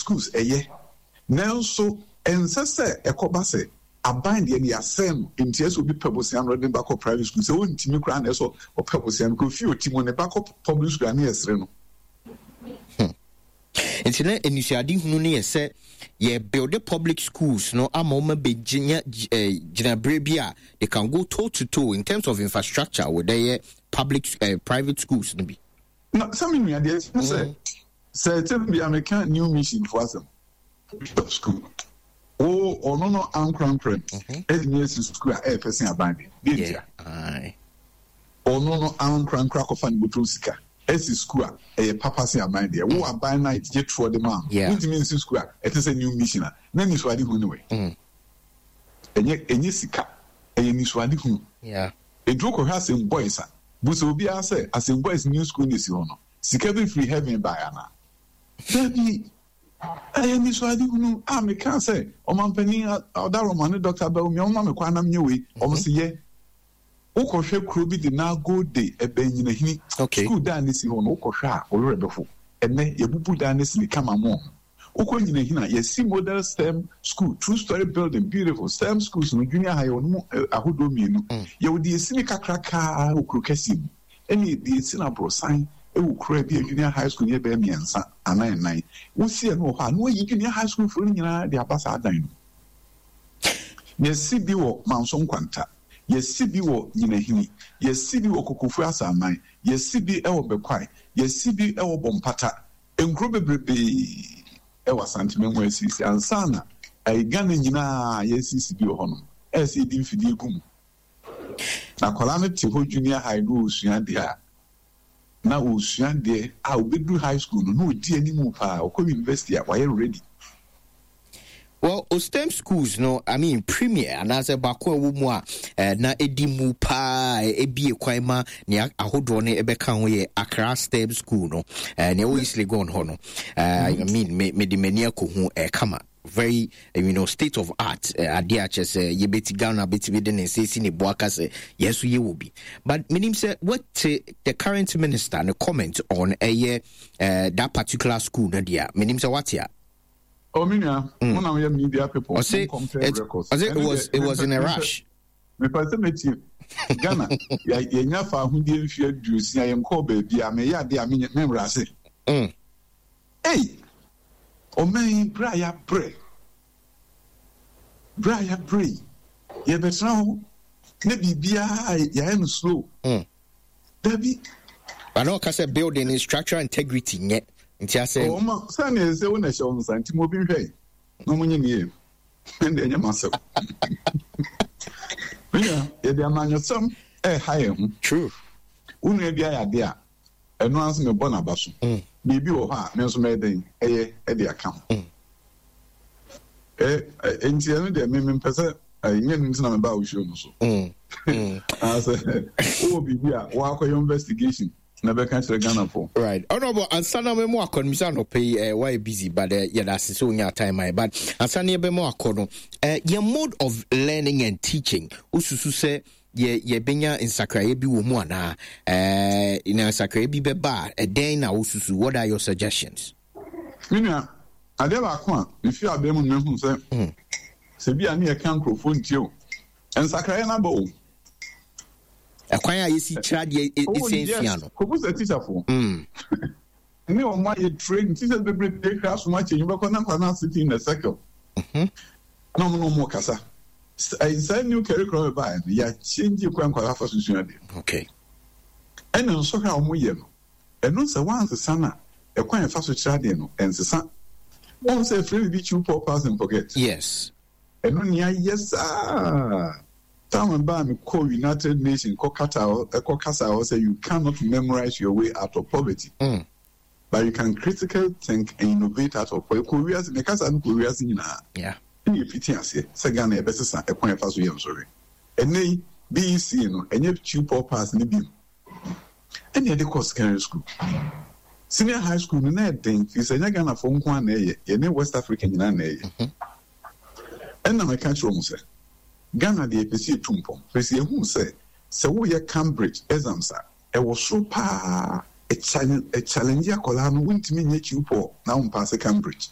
schools ɛyɛ, nanso ɛnsɛ sɛ ɛkɔba sɛ aban deɛ no yɛasɛe no, nti ɛsɛ obi pɛ bosea no ɔde ne ba kɔ private school, sɛ ɔntumi koraa na ɛsɛ ɔpɛ bosea no kɔ fie ɔti mu ne ba kɔ public school a ne yɛsere no. Nti na anisoadehunu no yɛ sɛ yɛ build public schools no ama wɔn abɛgyina eh, gyinaberɛ bi a they can go toe to toe in terms of infrastructure with ɛyɛ public eh, private schools no bi. Na sɛ me nua deɛ ɛsɛ sɛ sɛ ɛtɛm bi a meka new mission fo asɛm bishop school wo ɔno no ankorankorɛ no ɛtumi asi school a ɛyɛ fɛ sen aban deɛ deɛ ntia ɔno no ankorankora akɔfa ne bɔtɔm sika asi sukuu a ɛyɛ papa sen aban deɛ. Wo aban no a yɛgye toɔ de maa no, wontumi nsi sukuu a ɛte sɛ New Mission a na anisoadehunu ne wei. Ɛnyɛ ɛnyɛ sika, ɛyɛ anisoadehunu. Enti wokɔhwɛ Asem Boys a, busa obiara sɛ Asem Boys new school no a ɛsi hɔ no, sika bi firi heaven baeɛ anaa? Dabi! Ɛyɛ anisoadehunu a mekaa sɛ Ɔmampanin Ɔdaroma ne Dɔkta Bawumia wɔmma me kwan na menyɛ wei, wɔn se yɛ. Wokɔhwɛ kuro bi de Nagode ɛbɛn Nyinahini sukuu dan no si hɔ no, wokɔhwɛ a wo werɛ bɛho. Ɛnnɛ, yɛabubu dan no asi ne kama mo ho. Wokɔ Nyinahini a, yɛasi model stem school, two story building, beautiful. Stem schools no, junior high, yɛwɔ no mu ahodoɔ mmienu. Yɛwɔ deɛ yɛsi no kakrakaa wɔ kuro kɛseɛ mu, ɛne deɛ yɛsi no aborosan wɔ kuro a ebia junior high school no yɛ bɛyɛ mmiɛnsa anaa nnan. Wosi ɛno wɔ hɔ a, na wɔayi junior high school foɔ no nyinaa de aba saa dan no mu. Yɛasi bi wɔ Manso Nkwanta. Yɛasi bi wɔ Nyinahini, yɛasi bi wɔ Kokofu Asaman, yɛasi bi wɔ Bɛkwae, yɛasi bi wɔ Bompata. Nkuro bebrebee wɔ Asante mu asiesie ansa na Ghana nyinaa yɛasiesie bi wɔ hɔnom. Ɛyɛ sɛ yɛde mfidie gu mu. Na akwadaa no te hɔ junior high na ɔresua adeɛ a, na ɔresua adeɛ a ɔbɛduru high school no na ɔdi anim paa, ɔkɔ university a wayɛ ready. Well, STEM schools no, I mean, premier anaasɛ baako a ɛwɔ mu a eh, na ɛdi mu paa ebie kwan ma nea ahodoɔ no ɛbɛka ho yɛ Accra STEM school no, eh, nea ɛwɔ East Legon hɔ no. Eh, I mean, me mede m'ani akɔhu eh, kama very state of art adeɛ a kyerɛ sɛ yɛbɛti Ghana bɛtumi de ne nsa si ne bo aka sɛ yɛn nso yɛwɔ bi. But menim sɛ wɔte the current minister ne comment on ɛyɛ that particular school no deɛ a menim sɛ wate a. Oh, me nua, mo na moyɛ media people. Ɔse, mo compare records. Ɔse, it was in a rush. Mepɛ sɛ metie. Ghana, yɛnya fa ahodie mfeɛ 60, yɛnkɔɔ baabi a meyɛ adeɛ a menwerɛ ase. Ei, ɔman yi, berɛ a yɛabrɛ, berɛ a yɛabrɛ yi, yɛbɛtena hɔ na biribiara yɛayɛ no slow. Dabi. But na ɔka sɛ building ne structural integrity nyɛ nti asɛ. Ɔma sɛnea ɛsɛ wo na ɛhyɛ wo nsa nti mo obi nhwɛ na ɔmo nye ne yie ɛnde ɛnyɛ m'asɛm. Menya yɛde amanyɔsɛm ɛɛha yɛn ho. True. Wo nua bi ayɛ ade a ɛno ara nso mebɔ n'aba so. Biribi wɔ hɔ a me nso mɛyɛ dɛn ɛyɛ ɛde aka ho. Ɛ nti ɛno deɛ me mempɛ sɛ ɛnyɛ no nti na mebaa wo show no so. Anaasɛ wowɔ biribi a woakɔyɛ investigation na bɛka kyerɛ Ghanafoɔ. Right. Honorable, ansa na mɛmo akɔ no, misa anɔpa yi, wayɛ busy, but yɛda ase sɛ wonya time ayɛ. But ansa na yɛbɛmo akɔ no, yɛn mode of learning and teaching, wosusu sɛ yɛ yɛbɛnya nsakraeɛ bi wɔ mu anaa? Na nsakraeɛ bi bɛba a, ɛdɛn na wosusu? What are your suggestions? Me nua, adeɛ baako a mefiri abɛn mu no mahu sɛ, sɛ bi a ne yɛka nkurɔfoɔ ntie o, nsakraeɛ no aba o. Ɛkwan a yɛsi kyerɛ adeɛ ɛsɛ nsua no. Kɔbu sɛ tikyafoɔ. Ne wɔn ayɛ train teachers bebree kra so akyɛ nyɛ na nkwa na sitting in a circle. Na wɔn na wɔn kasa. Saa new curriculum baeɛ no, yɛakyɛngye kwan nkwadaa fa so sua adeɛ. Okay. Ɛna nsɔhwɛ a wɔyɛ no, ɛno sɛ wansesa no a, ɛkwan yɛfa so kyerɛ adeɛ no, ɛnsesa. Wɔn sɛ efirɛ bibi chew pour pass and forget. Yes. Ɛno nea yɛ saa. Time baa mi kɔ United Nations kɔ kata ɛkɔ kasa hɔ sɛ you cannot memorize your way out of poverty. But you can critically think and innovate out of poverty. Kɔ wiase, ne kasa no kɔ wiase nyinaa. Ɛna efiti aseɛ sɛ Ghana yɛbɛsesa ɛkwan yɛfa so yɛ nsɔhwɛ. Ɛnɛ yi BEC no ɛnyɛ chew pour pass ne bi mu. Ɛna yɛde kɔ secondary school. Senior high school no na ɛden firi sɛ ɛnyɛ Ghanafoɔ nko ara na ɛyɛ, yɛne West Africa nyinaa na ɛyɛ. Ɛna meka kyerɛ wɔn sɛ, Ghana deɛ yɛpɛ sɛ yɛtu mpɔn, firi sɛ yɛhuu sɛ, sɛ woyɛ Cambridge exams a, ɛwɔ soro pa ara, ɛchallenge akwadaa no, wontumi nyɛ chew poor na wompaase Cambridge.